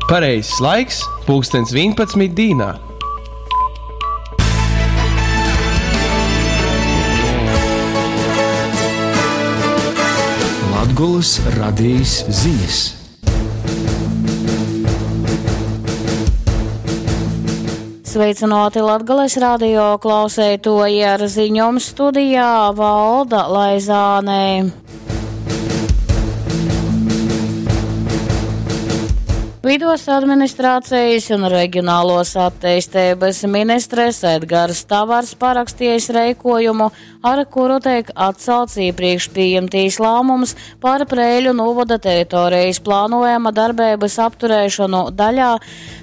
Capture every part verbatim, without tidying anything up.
Pareizais laiks – pulkstens vienpadsmit dīnā. Latgolys radejis zinis. Sveicināti Latgales radio klauseitoji ar ziņom studijā Valda Laizānē. Vidos administrācijas un reģionālos attīstības ministres Edgars Tavars parakstījis reikojumu, ar kuru tiek atcelts iepriekš pieņemtīs lēmums par Preiļu novada teritorijas plānojama darbības apturēšanu daļā.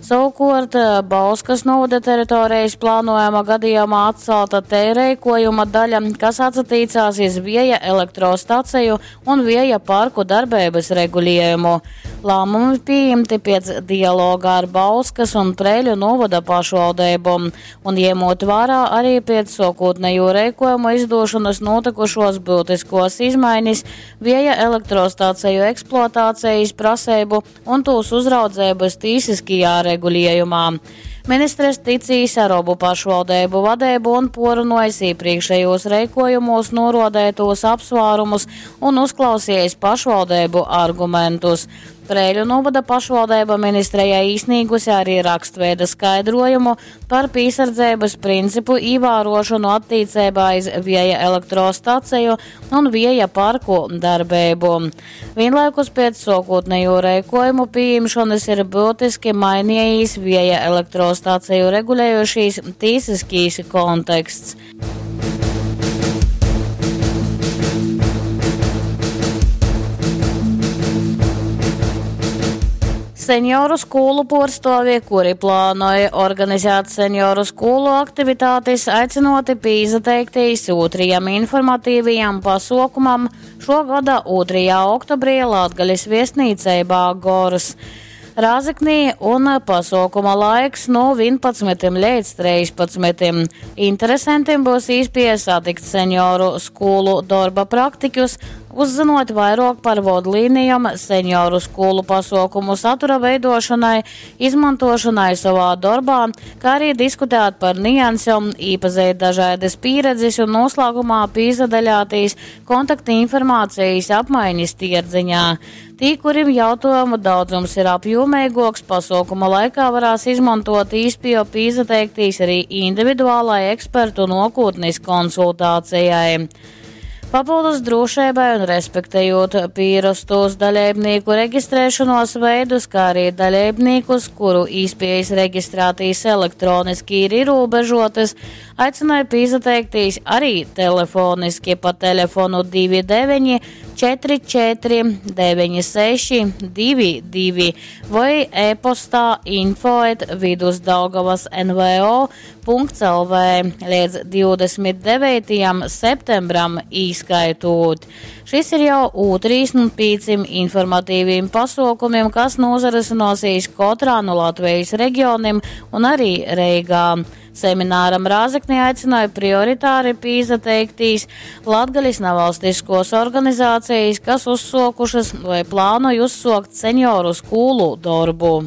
Savukārt Bauskas novada teritorijas plānojama gadījumā atcelta te reikojuma daļa, kas atsatīcās iz vieja elektrostaciju un vieja parku darbības regulējumu. Lēmumi pieņemti pēc dialoga ar Bauskas un Preiļu novada pašvaldībom un ņemot vērā arī pēc sākotnējo reikojumu izdošanas notikušos būtiskos izmaiņas vieja elektrostaciju eksploatācijas prasību un tūs uzraudzības tīsiskajā regulējumā. Ministres ticīs ar obu pašvaldību vadību un porunojis iepriekšējos reikojumos norodētos apsvērumus un uzklausījis pašvaldību argumentus. Preiļu novada pašvaldība ministrijai īsnīgusi arī rakstveida skaidrojumu par piesardzības principu ievērošanu attiecībā iz vieja elektrostaciju un vieja parku darbību. Vienlaikus pēc sākotnējo reikojumu pieņemšanas ir būtiski mainījis vieja elektrostaciju regulējošīs tīsiskīs konteksts. Senioru skolu porstovi, kuri plānoja organizēt senioru skolu aktivitātes, aicinoti pīzateiktīs otrajam informatīvajam pasaukumam šo gada otrajā oktobrī Latgales viesnīcībā Gors. Rāzeknī un pasaukuma laiks no vienpadsmit līdz trīspadsmitim. Interesantiem būs iespēja satikt senioru skolu darba praktiķus, uzzinot vairāk par vadlīnijām senioru skolu pasaukumu satura veidošanai, izmantošanai savā darbā, kā arī diskutēt par niansēm, iepazīt dažādas pieredzes un noslēgumā pīzadaļātīs kontakti informācijas apmaiņas tierdziņā. Tī, kurim jautājumu daudzums ir apjomīgāks, pasaukuma laikā varēs izmantot īspēju pīzateiktīs arī individuālai ekspertu nokūtnes konsultācijai. Papildus drošībai un respektējot pierastos dalībnieku reģistrēšanos veidus, kā arī dalībniekus, kuru īspējas reģistrētīs elektroniski ir ierobežotas, aicināja pīzateiktīs arī telefoniski pa telefonu divi deviņi četri četri deviņi seši divi divi vai e-postā info et vidusdaugavas N V O punkts L V līdz divdesmit devītajam septembram īskaitot. Šis ir jau otrīs no pieciem informatīviem pasaukumiem, kas nozarisināsies katrā no Latvijas reģioniem un arī Reigā. Semināram Rāzeknī aicināja prioritāri pīzateiktīs Latgales nevalstiskos organizācijas, kas uzsokušas vai plānoja uzsokt senioru skolu darbu.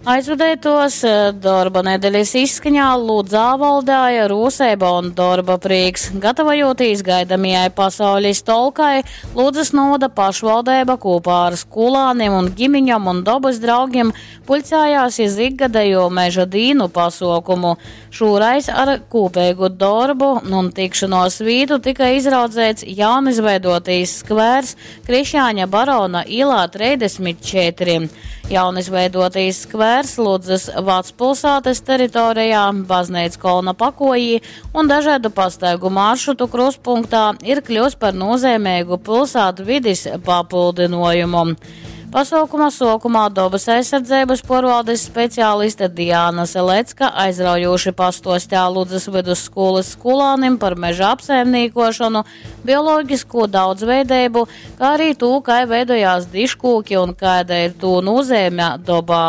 Aizvadētos darba nedēļas izskaņā Ludzā valdāja rūseiba un darba prieks. Gatavojotīs gaidamajai pasaules tolkai, Ludzas novada pašvaldība kopā ar skolāniem un ģimiņam un dabas draugiem pulcējās iz ikgadējo meža dīnu pasaukumu. Šoreiz ar kopīgu darbu un tikšanos vītu tika izraudzēts jaunizveidotīs skvērs Krišjāņa Barona ielā trīsdesmit četri. Jaunizveidotīs skvērs Ludzas vecpilsētas teritorijā, Baznīcas kolna pakojī un dažādu pastaigu maršrutu kruspunktā ir kļūst par nozīmīgu pilsētu vides papildinājumu. Pasaukuma sokumā dabas aizsardzības porvaldes speciāliste Diāna Selecka aizraujoši pastostā Ludzas vidusskolas skolānim par meža apsaimniekošanu, bioloģisko daudzveidību, kā arī to, kā veidojās diškūki un kāda ir to nozīme dabā.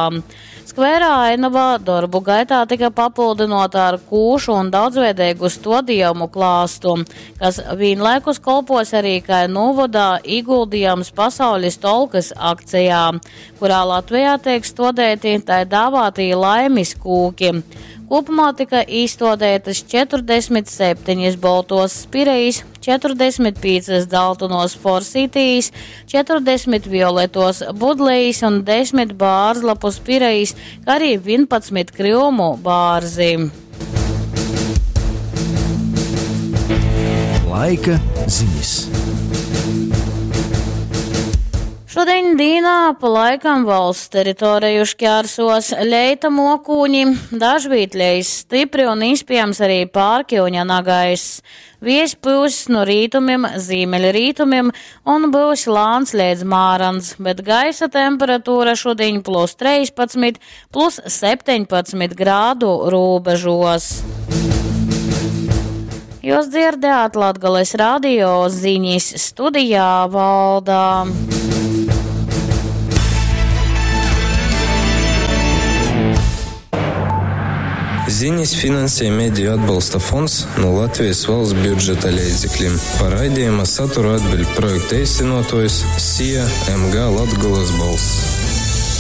Skvērā ainova dorbu gaitā tika papildynuota ar kūšu un daudzveideigu stuodejumu klāstu, kas vīnlaikus kolpos arī kai nūvoda īguldījums pasaulis tolkys akcejā, kurā Latvejā teik stuodeiti tai dāvātī laimis kūki. Kopumā tika īstuodētas četrdesmit septiņas boltos spirejis, četrdesmit piecas dzeltenos forsītijas, četrdesmit violetos budlejis un desmit bārzlapu spirejis, kā arī vienpadsmit kryumu bārzi. Laika ziņas. Šodien dīnā pa laikam valsts teritoriju šķērsos leita mokūņi, dažvīt lejas stipri un iespējams arī pārkiuņa nagaiss. Viejs pūs no rītumiem, ziemeļrītumiem un būs lāns līdz mārans, bet gaisa temperatūra šodien plus trīspadsmit, plus septiņpadsmit grādu robežos. Jūs dzirdējāt Latgales radio ziņas studijā Valdā. Ziņas finansē Mediju atbalsta fonds no Latvijas valsts budžeta līdzekļiem. Par raidījuma saturu atbild projekta īstenotājs S I A M G Latgolas balss.